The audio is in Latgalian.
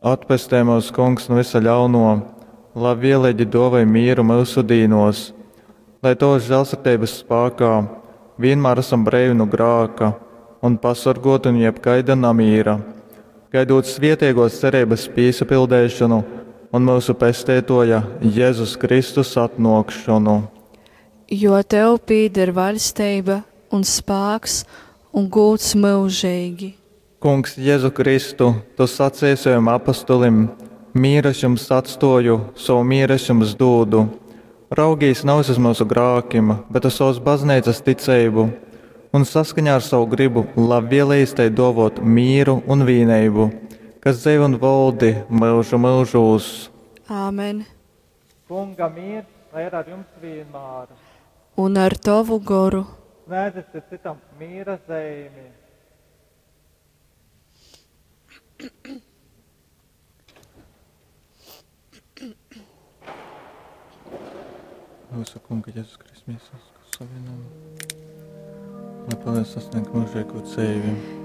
Atpestej mūs, Kungs, nu visa ļauno, labvieleigi duovoj mīru myusu dīnos, lai Tovas žēlsirdības spākā vienmēr esam breivi nu grāka un pasorgoti nu jebkaida namīra, gaidot svietiegos cerības pīsapildeišanu un myusu Pesteitoja Jēzus Kristus atnōkšonu. Jo tev pīder vaļsteiba un spāks un gūds myužeigi. Kungs Jezu Kristu, tu saceji sovim apostolim, Mīru es jums atstōju, sovu mīru es jums dūdu. Raugīs nevis uz myusu grākim, bet uz savas bazneicas ticeibu, un saskaņā ar savu gribu labvēlējis tai dōvot mīru un vīneibu, kas dzeivo un voldi myužu myužūs. Āmen. Kunga mīrs, lai ir ar jums vienmēr. Un ar tovu goru. Sniedzat citam mīra zeimi. Mūsu Kunga Jēzus Kristus miesas savienojumu, lai palīdz sasniegt mūžīgo dzīvi.